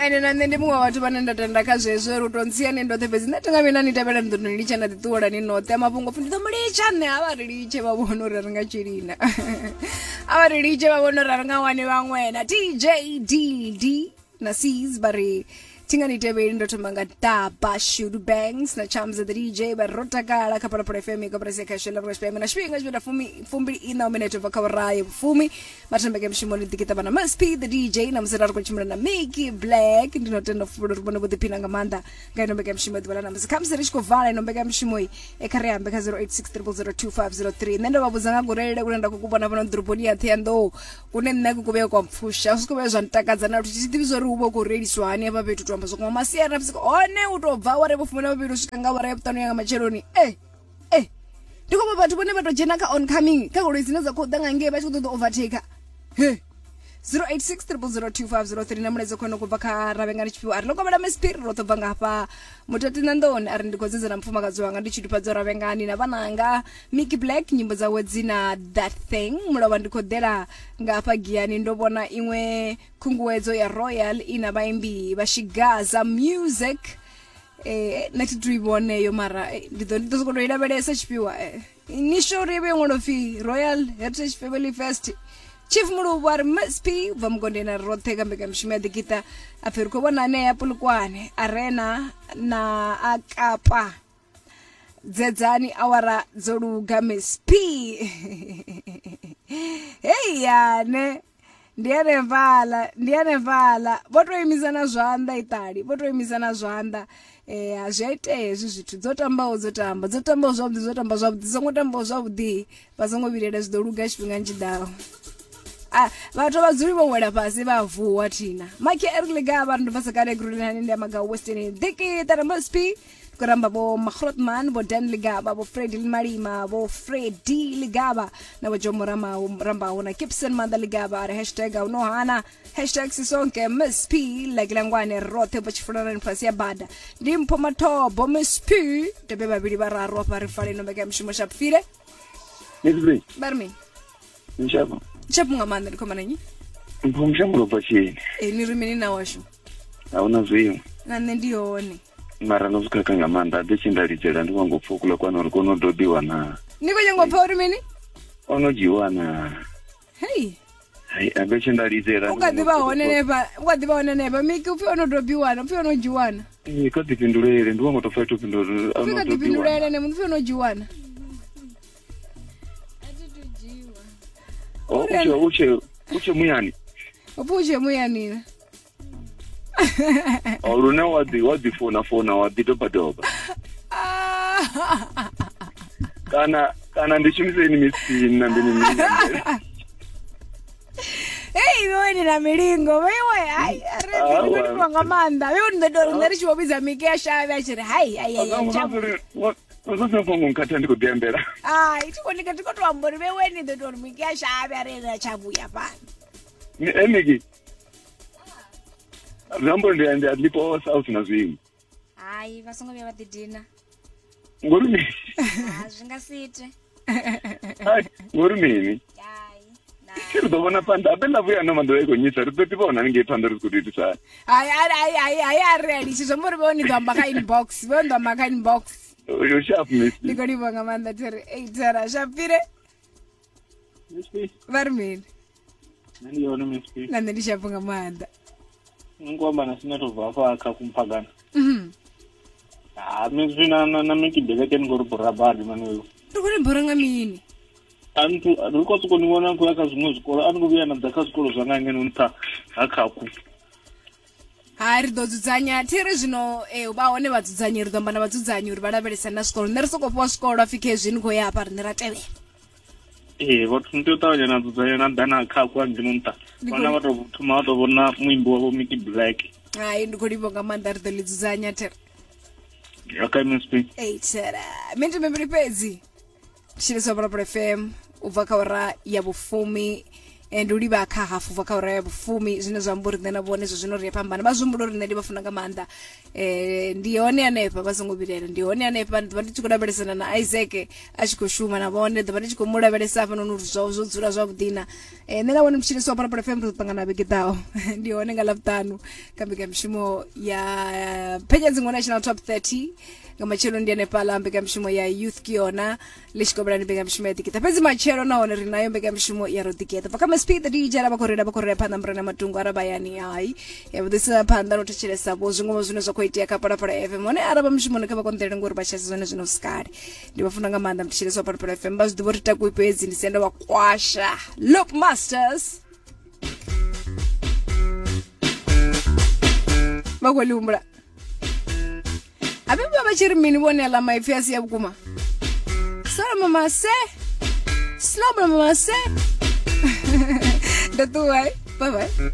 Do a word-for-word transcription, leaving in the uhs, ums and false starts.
Ende na nṋe ndi muṅwe wa vhathu vhane nda tenda kha zwezwo uri u to ntsia ni ndoṱhe fhedzi nṋe thinga vhuya na ni tevhela ni ḓo ni litsha na ḓi ṱuwela ni noṱhe mafhungo pfhi ndi ḓo mu litsha nṋe a vha ri litshe vha vhone uri ri nga tshilina a vha ri litshe vha vhone uri a ri nga wani vhaṅwe na T J D D na C's vha ri thinga ni tevheli ndo thoma nga Daba Shudu Banks na Charms the D J vha ro takala kha Phalaphala F M koporasi ya khasho ḽa Tshipembe na tshifhinga tshifhinga fumi fumbili ina minete ubva kha vhurayi vhufumi vhathembeke mushumoni ḓikiṱa na Miss P the D J na musi ra ri khou tshimbila na Mickey Black ndi no tenda fulu uri vhone vho ḓiphina nga maanḓa nga ino mbekanyamushumo ya ḓuvha ḽa ṋamusi khamusi ri tshi khou vala ino mbekanyamushumo i kha ri ambe kha zero eight six triple zero two five zero three nṋe ndo vha vhudza nga gurelele kune nda khou ku vhona fhano ḓoroboni ya Ṱhohoyanḓou kune nṋe ku kuvhe kwa mpfusha zwi khou vhuya zwa ntakadza na luthihi thi ḓivhi zwa uri hu vha hu khou reiliswa hani hafha fhethu to amba zwo kuma masiari na vhusiku hone u tou bva awara ya vhufumi na vhuvhili u swika nga awara ya vhuṱanu ya nga matsheloni eh eh ndi khou vha vhathu vhone vha tou dzhena kha oncoming kha goloi dzine dza khou ḓa nga ngei vha tshi khou ṱoḓa overtaker he zero eight six triple zero two five zero three na mulaedza khone kubva kha Ravhengani Tshifhiwa a ri ḽo kovhela Miss P ro ḓo bva nga hafha Mutati Nandoni a ri ndi khou dzedza na mufumakadzi wanga ndi tshidufhadzo Ravhengani na vhananga Mickey Black nyimbo dzawe dzina That Thing mulovha ndi khou ḓela nga hafha Giyani ndo vhona iṅwe khunguwedzo ya Royal ina vhaimbi vha Shigaza Music eh nṋe thi tu i vhone yo mara eh, ndi ḓo ndi ḓo sokou tou i lavhelesa Tshifhiwa eh ni sure uri vhe ṅwalo pfi Royal Heritage Family Fest Chief Muluvhu a ri Miss P bva mugondeni a ri roṱhe kha mbekanyamushumo ya ḓikiṱa a pfhi ri khou vhona anea Polokwane Arena na a Kapa dzedzani awara dzo luga Miss P hei yane ndi hanefhaḽa ndi hanefhaḽa vho to imisa na zwanḓa iṱali vho to imisa na zwanḓa eh zwi a itea hezwi zwithu dzo tambaho dzo tamba dzo tambaho zwavhuḓi dzo tamba zwavhuḓi songo tambaho zwavhuḓi vha songo vhilela zwi ḓo luga tshifhingani tshiḓaho Ah, vhathu vha dzuli vho wela fhasi vha vuwa thina Mike Eric Ligaba ri ndo bva sakale grulani ndi amaga Western Diki tara Miss P khou ramba vho Magrotman vho Dan Ligaba vho Freddy Malima vho Freddy Ligaba na vho Jomo Ramao Rambaho na Gibson Manda Ligaba a ri hashtag a no hana hashtag sisonke Miss P Legilangwane roṱhe vho tshifulanani fhasi ya bada ndi Mpho Mathobo Miss P tebe vhavhili vhararu afha ri fale ino mbekanyamushumo Shapfile Miss P vha ri mini Nshapho Nshapho nga maanḓa ndi khomana nnyi Mpho mushango bva tshini e ni ri mini na washu a huna zwiṅwe na nṋe ndi hone mara no zwi khakha nga maanḓa aḓe tshi nda lidzela ndi wango pfa kula kwana uri kono dobiwa na ni khou nyanga u pfa uri mini ono dzhiwa na hei hai abe tshi nda lidzela u kha ḓi vha hone nefha u kha ḓi vha hone nefha Miki upfi ono dobiwa na upfi ono dzhiwa na ee kha ḓifhindulele ndi wango to pfa ito fhindula uri upfi ono kha dobiwa ḓifhindulele ne upfi ono dzhiwa na o utshe utshe utshe muyani upfi u tshe muyani na o lune wa ḓi wa ḓi fona fona wa ḓi doba doba kana kana ndi shumise ini Miss P na ndi ni mini hei iwe ni na milingo vheiwe hai ri Awa. ri livhuwa nga maanḓa vheiwe ni ḓo tou ri nṋe ri tshi vho vhidza Miki ya shavhe a tshi ri hai hai hai hai, tsha- fhungo nkhatha ndi khou ḓi ambela hai thi khou ndi khou tou amba uri vheiwe ni ḓo tou ri Miki ya shavhe a ri ene a tsha vhuya fhano Ni- eh Miki zwi amba uri ndi ndi a ḽiposa a hu sina zwiṅwe Hai vha songo vhuya vha ḓidina ngori mini ha zwi nga si ite Hai, ngori mini hai na ri ḓo vhona phanḓa abe ḽa vhuya ano maḓuvha i khou nyisa ri ḓo ḓi vhona haningei phanḓa ri tshi khou tou itisa hani hai hai hai hai hai a ri a litshi zwi amba uri vheiwe ni ḓo amba kha inbox vheiwe ni ḓo amba kha inbox U sharp Miss ndi khou livhuwa nga maanḓa thiri ei thera Shapfile Miss P vha ri mini nṋe ndi yone Miss P na nṋe ndi shapo nga maanḓa ni khou amba na sine to bva hafha kha kumphagana Mhm. ha Miss P na na na Mickey Black ni khou ri bora badi mani uyu ri khou ni bora nga mini a ni thu- ri khou sokou ni vhona ni khou ya kha zwiṅwe zwikolo a ni khou vhuya na ḓa kha zwikolo zwa nga ngeno nṱha ha khakhu hai ri ḓo dzudzanya thi ri zwino eh, vha hone vhadzudzanyi ri ḓo amba na vhadzudzanyi uri vha lavhelesa na zwikolo nṋe ri sokou fhiwa zwikolo apfi khezwi ni khou ya hafha riṋe ra tevhela ee vhathu ni tea u ṱavhanya na dzudzanya na ḓa na khakhu hangeno nṱha Ndi vhana khou- vha tou thoma vha tou vhona muimbi wavho Mickey Black hai ndi khou livhuwa nga maanḓa ri ḓo ḽi dzudzanya thera okay Miss P ei thera miniti mivhili fhedzi tshiliswa Phalaphala F M u bva kha awara ya vhufumi Ndi u livha kha hafu bva kha ura ya vhufumi, zwine zwa amba uri nṋe na vhone zwo zwino ri a fhambana, vha zwi humbula uri nṋe ndi vha funa nga maanḓa. Eh ndi hone hanefha, vha songo vhilaela, ndi hone hanefha. Ndi ḓovha ndi tshi khou lavhelesana na Isaac a tshi khou shuma na vhone, ḓovha ndi tshi khou mu lavhelesa hafhanoni uri zwawe zwo dzula zwavhuḓi na. Eh nṋe na vhone mutshilisi wa Phalaphala F M ri ḓo ṱangana vhege ḓaho. Ndi hone nga Ḽavhuṱanu kha mbekanyamushumo ya Phenya Dziṅwe National Top thirty. Nga matshelo ndi hanefhaḽa mbekanyamushumo ya Youth ke yona ḽi tshi kovhelani mbekanyamushumo ya Ḓikiṱa. Fhedzi matshelo nahone ri nayo mbekanyamushumo ya Ro Ḓigeḓa. Bva kha M S P the D J vha khou reila vha khou reila phanḓa murena matungo araba yani hai ya vhuḓisa phanḓa no thetshelesa vho zwiṅwe zwine zwa khou itea kha Phalaphala F M. Hone araba mushumoni kha vha konḓelele ngori vha tshasa zwone zwino sikale. Ndi vha funa nga maanḓa mthetshelesi wa Phalaphala F M, vha zwi ḓivha uri takuwi fhedzi ndi senda wa kwasha Loop Masters. Vha khou ḽi humbula Abe vha tshi ri mini vhone aḽa maipfi a si ya vhukuma. Sala mama se. Slow mama se. Ndo ṱuwa. Bye bye.